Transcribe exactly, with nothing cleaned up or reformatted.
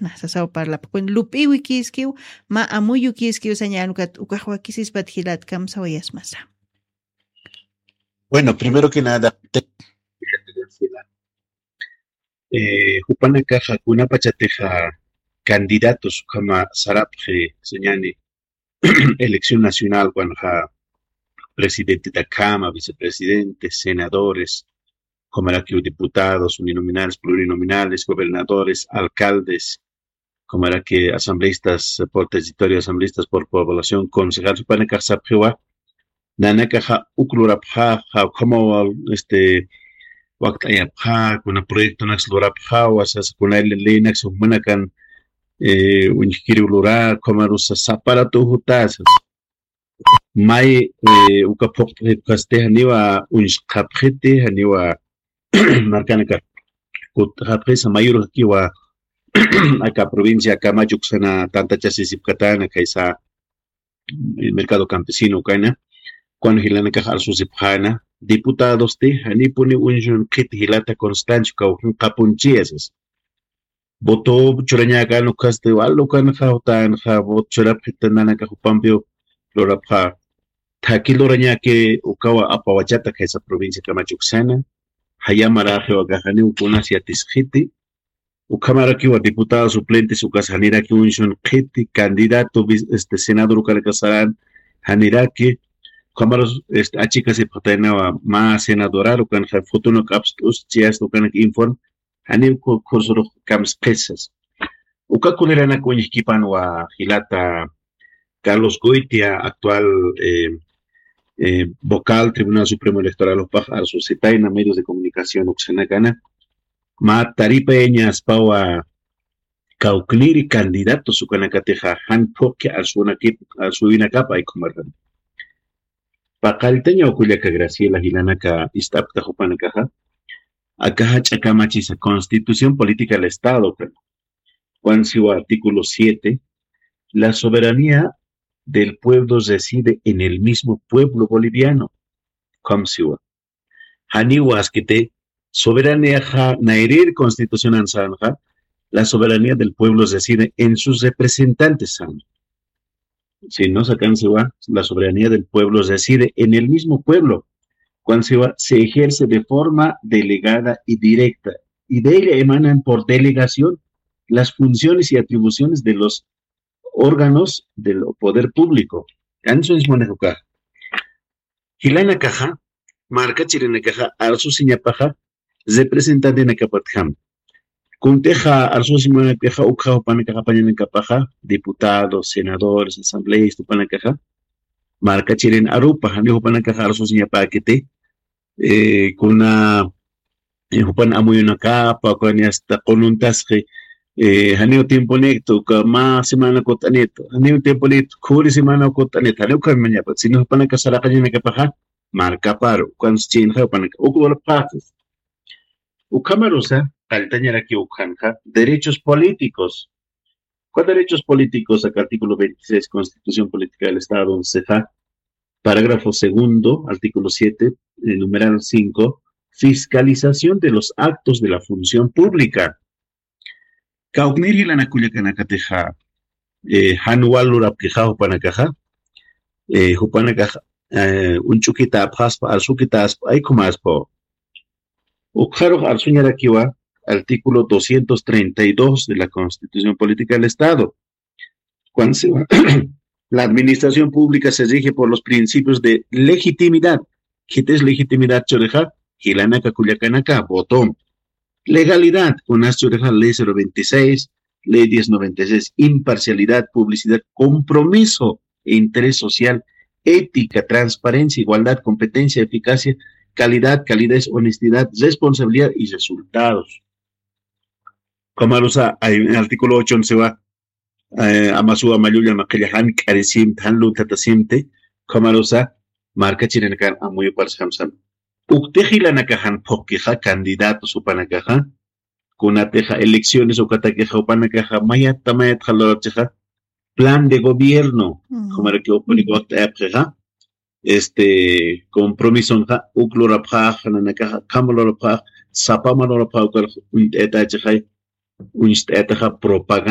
Nasasaw parlapkun lup'iwi kiskiw, ma amuyu kiskiw sañanukat ukaxwa kisispat jilat kamsawayasmasa. Bueno, primero que nada, te- eh, jupanakaxa kunapachatixa candidatos ukhama sarapxi sañani elección nacional, cuando presidente de Cámara, vicepresidentes, senadores, como era que diputados uninominales, plurinominales, gobernadores, alcaldes, como era que asambleístas por territorio, asambleístas por población, concejal, supanakax sapxiwa, nanakaxa uk lurapxaxa, como este, wakt'ayapxa, kuna proyecto naks lurapxawa, sas kuna ley naks humanakan eh, uñjkiriw lura, ukhamarusa saparatuw jutasa. May, eh, uka phuqt'xipkasti janiwa uñsqapxiti, janiwa markanaka kutxapxisa mayurxakiwa aka provincia Camacho uksana tantachasisipkatana, kaysa, eh, mercado campesino ukana, cuando jilanakax arsusipxana, diputadosti, janipuni uñsun qhiti jilata Constancio kawkin qapunchiyasas. Voto churañakan ukasti, wal ukanxa, utanxa, voto churapxita nanakax jupampiw lurapxa. Thaki lurañaki ukawa apawachata kaysa provincia Camacho uksana, jayamaraxiwa kaxaniw kunas yatisxiti, ukhamarakiwa diputado suplentes ukas janiraki uñsun qhiti, candidato vis-, este, senador ukanaka saran janiraki, ukhamarus, este, achikasipxataynawa ma senadorar ukanxa fotonak apst'us chiyasta ukanak informe, janiw ku-, kursurux kamsqhisas. Uka kuniranak uñjkipanwa jilata Carlos Goitia, actual, eh, eh, vocal Tribunal Supremo Electoral upax arsusipayna medios de comunicación uksanakana. Ma taripayañaspawa kawkniri candidatos ukanakatixa jan phuqki arsuwinakip-, arsuwinakapa aykumarqan. Paqalltañaw kullaka Graciela jilanaka ist'apkta jupanakaxa. Akaxa ch'akamachisa Constitución Política del Estado, pero Juan Siwa, artículo siete, la soberanía del pueblo reside en el mismo pueblo boliviano. Juan Siwa. Janiwa askiti soberanía ja nairir constitución ansanxa, la soberanía del pueblo reside en sus representantes san. Si no sacan Siwa, la soberanía del pueblo reside en el mismo pueblo. Cuando Siwa se ejerce de forma delegada y directa, y de ella emanan por delegación las funciones y atribuciones de los órganos del poder público. Ansu es manejo caja. Jilanakaxa, markachirinakaxa, arsusiñapaxa, representantenakapatjam. Kuntixa arsusiñapaxa, ukxa jupanakaxa, pañanakapaxa, diputados, senadores, asambleístas, jupanakaxa, markachirin arupa, jani jupanakaxa arsusiñapakiti, eh, kuna, eh, jupan amuyunakapa, kuna hasta qununtasqi, eh, janiw tiemponiktu, uka ma semana kut'anitu, janiw tiemponiktu, khuri semana kut'anitu, janiw kamañapa, sino jupanaka saraqañanakapaxa, markaparu, ukan chinxa, jupanaka, uk lurapxaxis. Ukhamarusa, qalltañaraki ukhanxa, derechos políticos. ¿Cuál derechos políticos? Acá artículo veintiséis, Constitución Política del Estado, onceja, parágrafo segundo, artículo siete, eh, numeral cinco, fiscalización de los actos de la función pública. Kawknir jilanakullakanakatixa, eh, jan wal lurapkixa jupanakaxa, eh, jupanakaxa, eh, uñch'ukita apxaspa, arsukitaspa, aykumaspa. Ukxarux arsuñarakiwa, artículo doscientos treinta y dos de la Constitución Política del Estado. Cuando se, la administración pública se rige por los principios de legitimidad. ¿Qué es legitimidad, choreja? Jilanaka kullakanaka, voto. Legalidad, unas choreja, ley cero veintiséis, ley diez noventa y seis, imparcialidad, publicidad, compromiso e interés social, ética, transparencia, igualdad, competencia, eficacia, calidad, calidez, honestidad, responsabilidad y resultados. Kamarusa, ay, artículo ocho, once va, eh, amasuwa mayulla maqilla jan k'arisimti, jan luntatasimti, kamarusa, markachirinakan amuyuparsi jamsam. Ukti jilanaka jan phuqkixa, candidatos jupanakaxa, kunatixa elecciones ukatakixa, jupanakaxa, mayata, mayata jalurachixa, plan de gobierno, mm, jumaraki upuni got'ayapxixa, este, compromisonxa, uk lurapxax, nanakaxa, kham lurapxax, sapama lurapxax, ukar uñt'ayatachixay, uñt'ayataxa propaganda